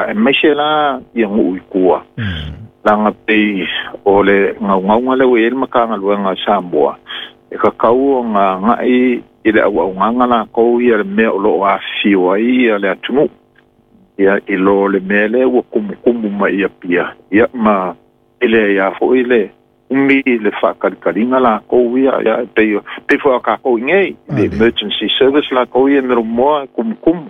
Aemaise la ia nuu i tua. Leaga pei o le gaugauga lea ua i ai le Matagaluega a Samoa, e tatau ona agai i le auaunaga latou ia le mea o lo o afifio ai ia le atunuu. Ia, i lo le mea lea ua tumutumu mai i Apia, ia ma e leai lava foi le umi le faatalitaliga latou ia, ia e pei, pei foi o tatou i inei, le emergency service latou ia e melomoa e tumutumu.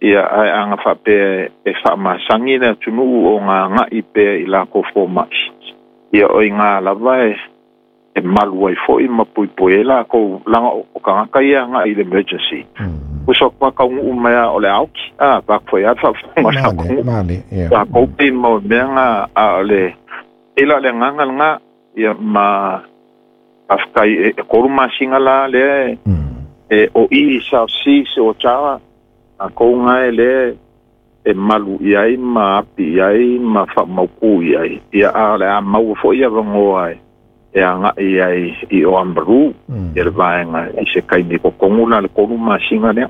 Ia, ae a na faapea e faamasani le atunuu ona agai pea i latou fomai, ia o i ina lava e malu ai foi ma puipui ai latou, leaga o tagata ia e agai i le emergency. Uso atu a taunuu mai lava o le a oti, a, vaeatu foi lava le faafofoga a le atunuu. Tatou pei mo mea na, a o le, pei la o le agaga lena, ia ma faafetai e 3 masina la lea e o i South Seas o Otawa, Tatou na e lea e malu i ai ma api i ai ma faamautu i ai, ia a o le a maua foi avanoa e agai ai i Oamaru, ia le vaega i se taimi totonu la le 3 masina lea.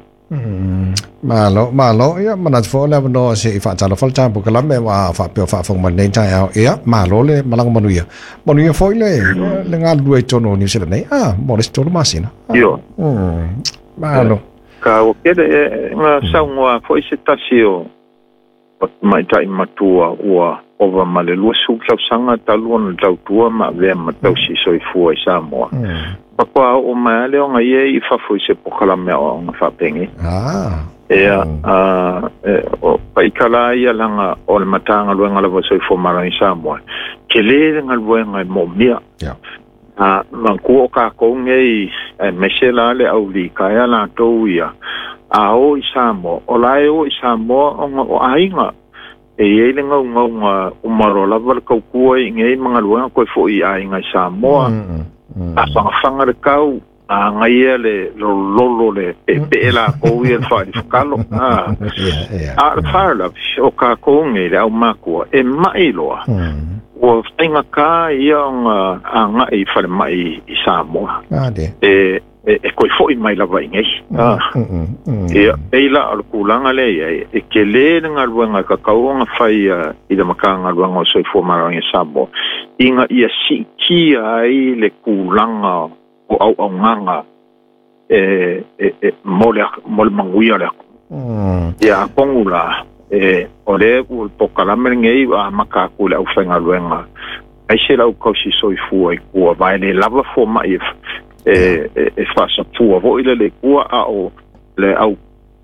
Malo, malo, ia manatu foi o le avanoa se i faatalofa le tatou polokalame ua faapea o faafofoga mai lenei taeao. Ia, malo le malaga manuia. Manuia foi le le galulue i totonu o Niu Sila nei, ah, mo le isi 3 masina. Ioe. Malo. Taua tele e na saunoa foi se tasi o tamaitai matua ua ova ma le 20 tausaga talu ona tautua ma avea ma tausi soifua i Samoa. Faatoa oo mai lava lea ona ia i fafo i se polokalame aoaoga faapenei. Ia, o paika la ia leaga o le Matagaluega lava o le Soifua Maloloina i Samoa, tele le galuega e moomia. A manatua o tatou nei, aemaise la le au litaea latou ia, a o i Samoa, o la e o i Samoa ona o aiga. E i ai le naunauga uma loa lava le tautua i inei ma galuega toe foi i aiga i Samoa. A fagafaga le tau, a agaia le lololo le peepee latou ia le faalifakalo. A o le faalavelave, o tatou nei le aumakua, e mai loa. Ua faigata ia ona agai i falemai i Samoa. E e toe foi mai lava i inei. Ia, pei la o le tulaga lea e i ai, e tele le galuega e tatau ona fai i le Matagaluega o le Soifua Maloloina i Samoa, ina ia siitia ai le tulaga o auaunaga e, e, e, mo le, mo le manuia o le atunuu. Ia, atonu la, e, o lea ua le polokalame lenei ua amata atu i le aufaigaluega, aemaise le au tausi soifua i tua, aua e le lava fomai e, e, e, e faasafua foi lele i tua, a o le au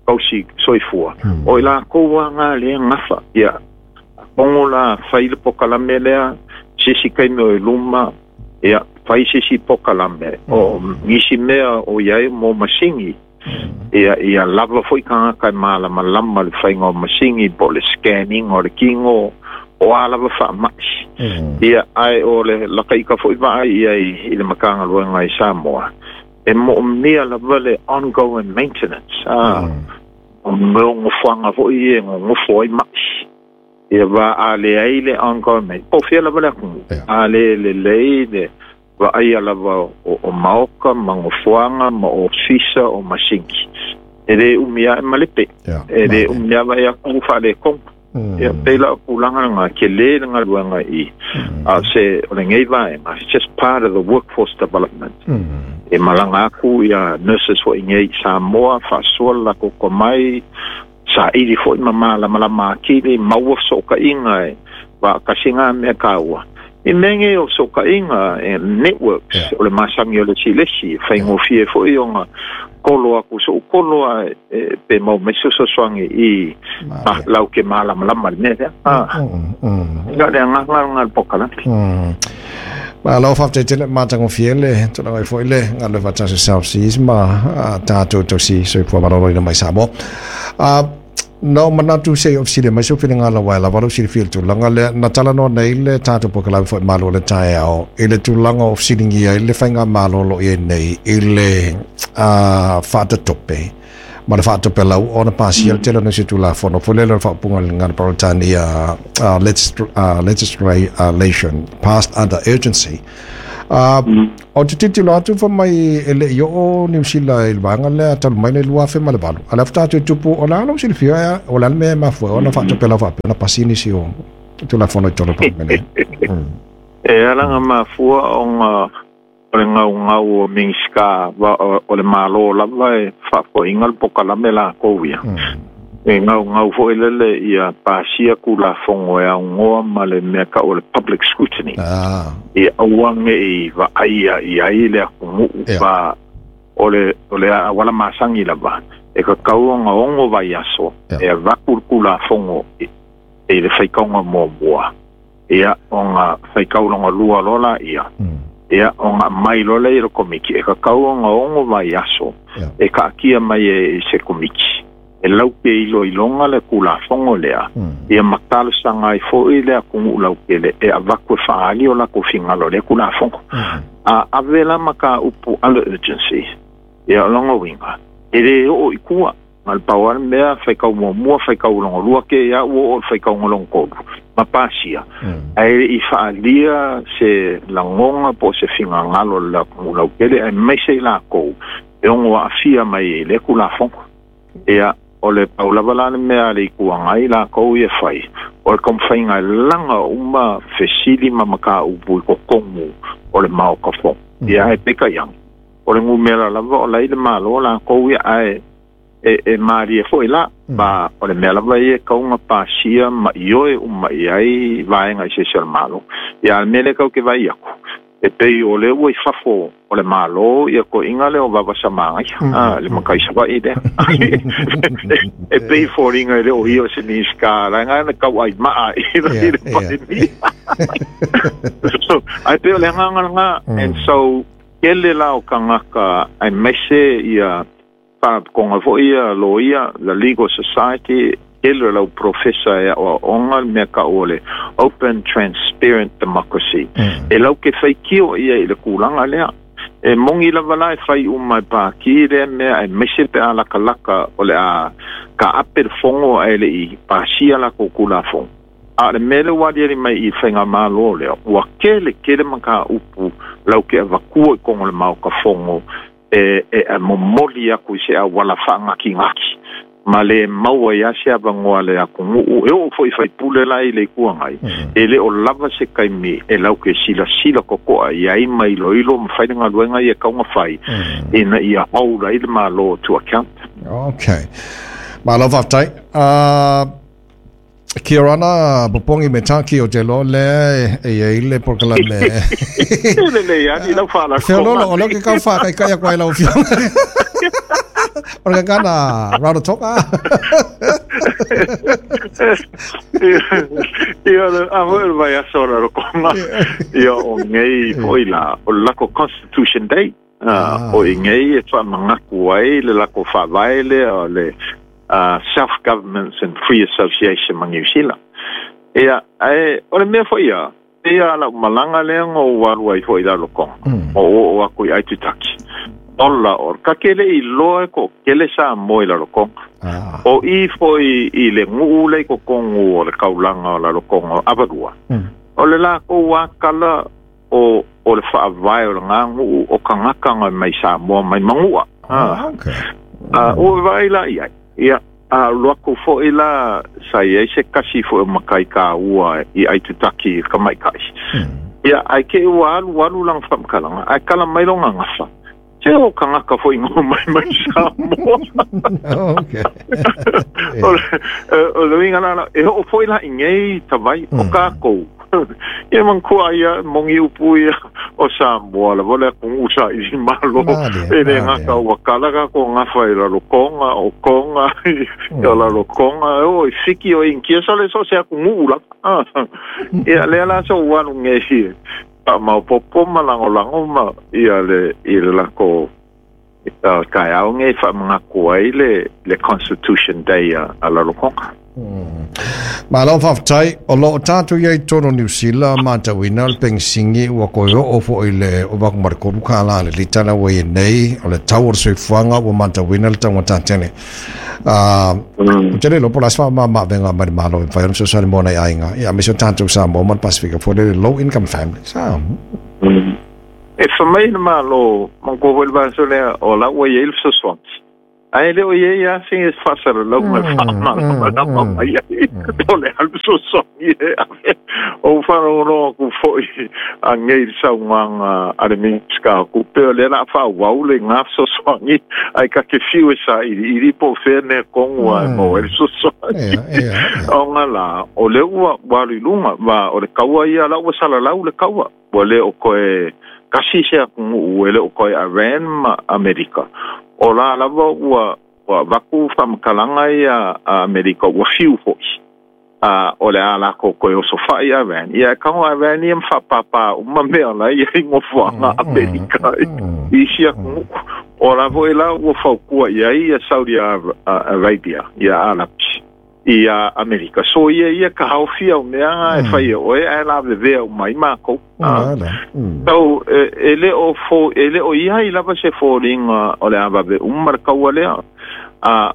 tausi soifua, o i latou lava na lea e gafa. Ia, atonu la, fai le polokalame lea, se isi taimi o i luma, Ia, fai se isi polokalame, o nisi mea o i ai mo masini, ia, ia lava foi tagata e malamalama i le faiga o masini po o le scanning o le kino, o a lava faamai. Ia, ae o le lata ita foi vaai i ai i le Matagaluega i Samoa, e moomia lava le ongoing maintenance, a, o mea o nofoaga foi ia e nonofo ai mai. Ia va a leai le ongoing po o fea lava le atunuu, a le lelei le vaaia lava o maoka ma nofoaga ma ofisa o masini, e le umi lava e malepe, e le umi lava e atu ua faaletonu. Ia, pei la o tulaga lena, tele le galuega i, a o se, o lenei vaega, it's just part of the workforce development. E malaga atu ia nurses foi nei i Samoa, faasoa le latou tomai, saili foi ma malamalama atili, maua fesootaiga e faatasi ngā mea taua. I mea nei o fesootaiga, e networks, yeah. o le masani o le isi i le isi, faigofie foi ona kolo atu so'u kolo a e, pe mau mai se fesoasoani i ma, lau ke malamalama le mea lea. Ah. Ina le agaga lena le polokalame. Malo faafetai tele matagofie le tulaga ai foi le galue faatasi o South Seas ma tatou tausi soifua maloloina mai Samoa. Na ou manatu se i ou fesili mai sou finagalo aua e lava lou silafia i le tulaga lea. Na talanoa nei le tatou polokalame foi Malo o le Taeao i le tulaga o fesiligia ai le faigamalo o lo o i ai nei i le faatatope ma le faatopelau ona pasia le tele o nisi o Tulafono foi lele o le faaupuga i le gagana Peretania legislation passed under urgency. O te tilotilo atu fai mai e le i oo Niu Sila i le vaega lea talu mai le 2008, a o lea faatoa toe tupu. O le a lou silafia, o le a le mea e mafua ai ona faatopelau faapea ona pasi nisi o Tulafono i totonu o le Palemene? E ala ona mafua ona o le gaugau o Minisita o le Malo lava e faafoeina le polokalame latou ia. E gaugau foi lele ia pasia Tulafono e aunoa ma le mea tau o le public scrutiny. Ia aua ne i vaaia i ai le atunuu ma o le auala masani lava e tatau ona 6 vaiaso e avatu le Tulafono i le faitauga muamua, ia ona faitauga lua loa laia, ia ona aumai loa lea i le komiti, e tatau ona 6 vaiaso e taatia mai e se komiti e laupe iloiloga le Tulafono lea, ia ma talosaga ai foi le atunuu lautele e avatu e faaali o latou finagalo i lea Tulafono. A ave la mataupu under urgency, ia o lona uiga, e le oo i tua. Ma le pau lava le mea, faitau muamua, faitau lona lua, ke ia ua oo i le faitauga lona tolu, ma pasia. Ae le i faaalia se lagona po o se finagalo o le atunuu lautele, aemaise i latou e ono aafia mai i lea Tulafono. Ia, o le pau lava la le mea a le Itu Agai latou ia e fai, o le taumafaiga e laga uma fesili ma mataupu i totonu o le Maota Fono. Ia, ae peitai ane, o le numera lava o la i le Malo latou ia, ae e malie foi la, ma o le mea lava ia e tatau ona pasia ma ioe uma i ai vaega eseese o le Malo. Ia, a o le mea lea tatou te vaai atu, e pei o lea ua i fafo o le Malo ia toeaiina lea o Vavasa Magaia, le matai Savaii lea. E pei foliga e le o ia o se Minisita, leaga na tauai maa i le Palemia. So, ae pei o le agaga lena. And so, tele la o tagata aemaise ia faalapotopotoga foi ia loia, the Legal Society, tele o lau profesa e aoaoga le mea tau o le open transparent democracy. E lau ke faitio ia i le tulaga lea. E moni lava la e fai uma e pāti lea mea, aemaise pe a latalata o le a taape le fono ae le i pasia latou Tulafono. A o le mea lea ua aliali mai i le faigamalo lea, ua tele tele mataupu lau ke avatua i totonu o le Maota Fono e momoli atu i se auala faagatigati ma le maua ai lava se avanoa a le atunuu e oo foi i faipule la i le Itu Agai, e le o lava se taimi e lau ke silasila totoa i ai ma iloilo ma fai le galuega ia e tatau ona fai ina ia hold ai le Malo to account. Okay. Malo faafetai. Kia ora ana popogi me tāki o te loa lea e i ai le polokalame. E lelei lava ni lau Feololo, o lea ou te kau whākaikai aku ai lau afioga. O le gagana Rarotonga. Ia, a foi o le vaiaso o Rarotonga. Ia, o nei foi la, o le lako Constitution Day. O i nei e faamanatu ai le lako faavae lea o le Self-Governments and Free Association ma Niu Sila. Ia, ae o le mea foi ia, pei lava lau malaga lea na ou alu ai foi i Rarotonga, na ou oo atu i Aitutaki. Ola, o ka ke le i loa e toatele Samoa i Rarotonga. O i foi i le nuu lea i totonu o le taulaga o Rarotonga o Avarua, o le latou lava tala o o le faavae o lena nuu o tagata na mai Samoa mai Manua. Ua vaai la i ai. Ia, a alu atu foi la sa i ai se tasi foi o matai taua i Aitutaki i le tamaitai. Ia, ae te i ua alualu lana faamatalaga, ae tala mai lona gafa, Se o tagata foi na omai mai Samoa. O le uiga la, e oo foi la i nei tavai o tatou. Ia manatua ia moni upu ia o Samoa lava le atunuu saili malo. E le gata ua kala tatou gafa i Rarotonga, o Tonga, o Rarotonga, e oo i Fiti, o Initia, sole so o se atunuu lava. Ia lea la sa ou alu nei faamaopoopo ma lagolago ma ia le i le lako taeao nei faamanatu ai le Constitution Day a Rarotonga. Malo faafetai. O lo o tatou i ai i totonu o Niu Sila, matauina le penisini ua toe oo foi i le ova atu ma le $3 le lita la ua i ai nei. O le tau o le soifuaga ua matauina le taugata tele. Ou te le iloa po o le a se faamama-avega mai le Malo e mafai ona fesoasoani mo nai aiga, aemaise o tatou Samoa ma le Pasefika foi lele, low income families. E whamai na malo, mangko hoi le vaso lea, o la ua iei le fesoasoani. Ae le o iei a se faasalalauga e faamalamalama mai ai o le a le fesoasoani e ave. O faalogologo atu foʻi agei le saunoaga a le Minisita o Tupe, o lea la a faaauau le gā fesoasoani ae ta te fiu e sailiili po o fea mea tonu a e maua ai le fesoasoani. Ona la o lea ua alu i luga ma o le taua ia la ua salalau le taua, ua le o toe tasi se atunuu, e le o toe Iran ma Amerika. O la lava ua avatu faamatalaga ia a Amerika ua fiu foʻi o le a latou toe osofaʻi Iran. Ia e tago Iran ia ma faapāpā uma mea la ia i nofoaga Amerika i isi atunuu. O la foʻi la ua fautua i ai ia Saudi Arabia ia Arapi ia Amerika. So ia ka haofia o mea e fai e oe ae la vevea uma ai makou. So e le o fo e le o ia i lava se foliga o le avave uma le kaua lea.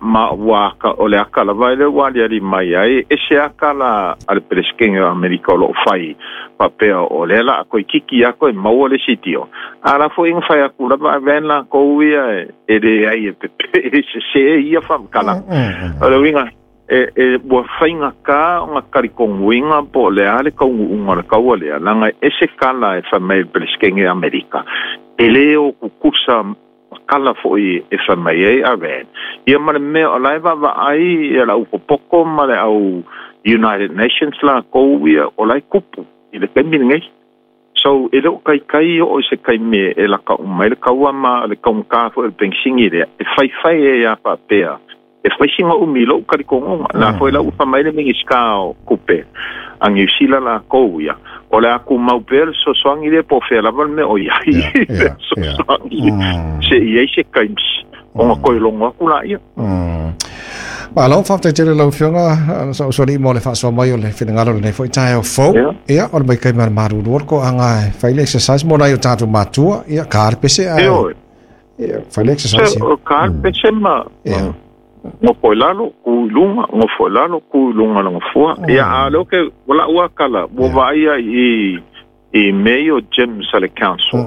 Ma ua o le aka lava ele ua aliali mai ai e se aka la a le Peresetene o Amerika o loo fai faapea o lea la a koe kiki ako e maua le sitio. A la foʻi na fai aku lava Iran lakou ia e leai e pepe e sesē ia faamatalaga. O le uiga e ua faigata ona talitonuina po o le a le taunuuga o le taua lea, laga e ese kala e fai mai le Peresetene o Amerika e lē o tutusa kala foʻi e fai mai ai Iran ia ma le mea o la e vaavaai ia le aupopoto ma le au United Nations lakou ia o la e tupu i le taimi lenei. So e le o kaikai o se kaime e laka uma ai le kaua ma le kaugata foʻi o le penisini lea e faifai ai a faapea e faisiga umi lou talitonuga. La foʻi la ua faamai le Minisita o Tupe a Niu Sila lakou ia o le a tumau pea le fesoasoani lea po o fea lava le mea o iai le fesoasoani se i ai se taimi ona toe logo atu laia. Malo, faafetai tele lau Afioga sa usoalii mo le faasoa mai o le finagalo lenei foʻi taeao fou. Ia, o le maita'i ma le malulu o le toaga e fai le exercise mo nai o tatou matua. Ia, ka le pese ae. Ia, fai le exercise. O ka le pese ma nofo i lalo, ku i luga, nofo i lalo, ku i luga le nofoa. Ia, a lea ke ua lau akala, ua vaaia i mea ia o gyms a le council,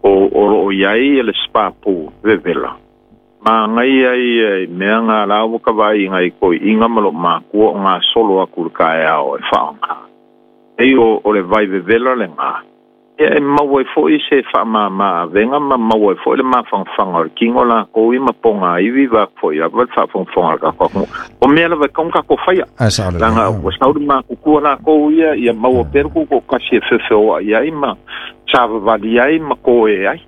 o loo iai le spa pool vevela. Magaia ia i mea ngā la ua ka vaai ngai koi'iga ma loo makua o gasolo aku le taeao e faaogā. Ei o le vai vevela legā. Ia e maua ai foʻi se faamāmā avega ma maua ai foʻi le mafagafaga o le kino lakou ia ma pogāivi va foʻi lava le faafogafoga a le tatou atunuu. O mea lava e tatau ona tatou faia. Leaga ua sau le makutua lakou ia ia maua pea le tutoatasi e feofeoaʻi ai ma savavali ai ma koe ai.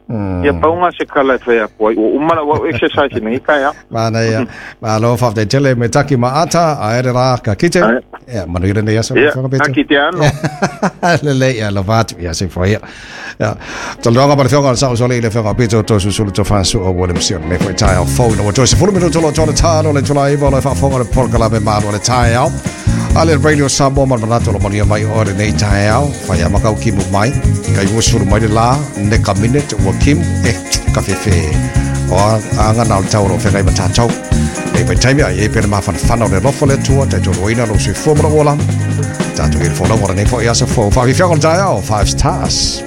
Ia pau gā se tala e fai atu ai, ua uma lau au exercise i lenei taeao. Manaia. Malo, faafetai tele me taki ma ata, ae le rā ka kite. Ia, manuia lenei aso. Ia, ka kite ano. Lelei, ia, alofa atu, ia, soifua ia. Ia, talanoaga ma le Afioga o le Saʻusoalii le Afioga Pito Toeolesulusulu Tofasu o William Sion lenei foi taeao fou ina ua toe 10 minuto loa toa le talo le itula 9 o lo o faafofoga le polokalame Malu o le Taeao. A le Radio Samoa ma le manatu o lo manuia mai oe lenei taeao. Fai a makau kimu mai. Kai ua sulu mai le la, neka minute ua kimu, e, ka fefe. O a anga na o le tau o lo whengai ma tātou. Nei vai taimi ai e pere mafanafana o le alofa o le Atua, taitoaluaina lou soifua ma lou ola. Tātou i le folauga o lenei foi aso fou. Faafiafiaga o le taeao, 5 stars.